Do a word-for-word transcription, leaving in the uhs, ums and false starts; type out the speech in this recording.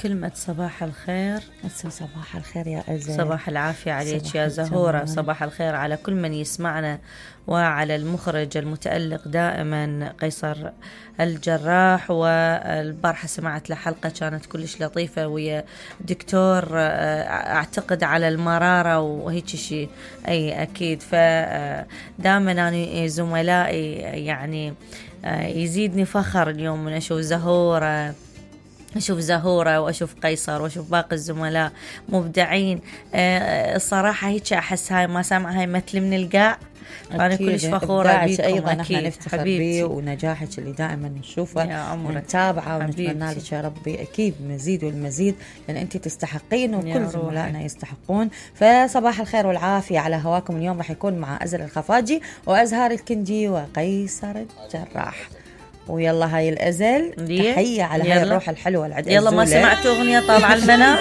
كلمة صباح الخير. صباح الخير يا أزل. صباح العافية عليك يا زهورة. صباح الخير على كل من يسمعنا، وعلى المخرج المتألق دائما قيصر الجراح. والبارحة سمعت له حلقة كانت كلش لطيفة ويا دكتور أعتقد على المرارة وهيك شيء. أي أكيد. فدائما أنا زملائي يعني يزيدني فخر اليوم من أشوف زهورة أشوف زهورة وأشوف قيصر وأشوف باقي الزملاء مبدعين. الصراحة هيك أحس هاي ما سامعة هاي مثل من القاع. أنا كلش فخورة بيكم. أيضا نحن نفتخر بيه ونجاحك اللي دائما نشوفه ونتابعه ونتمنى لك يا ربي أكيد مزيد والمزيد، لأن أنت تستحقين وكل زملائنا يستحقون. فصباح الخير والعافية على هواكم. اليوم راح يكون مع أزل الخفاجي وأزهار الكندي وقيصر الجراح. ويلا هاي الأزل تحية على هاي الروح الحلوة العد. يلا ما سمعتوا أغنية طالعة البنات؟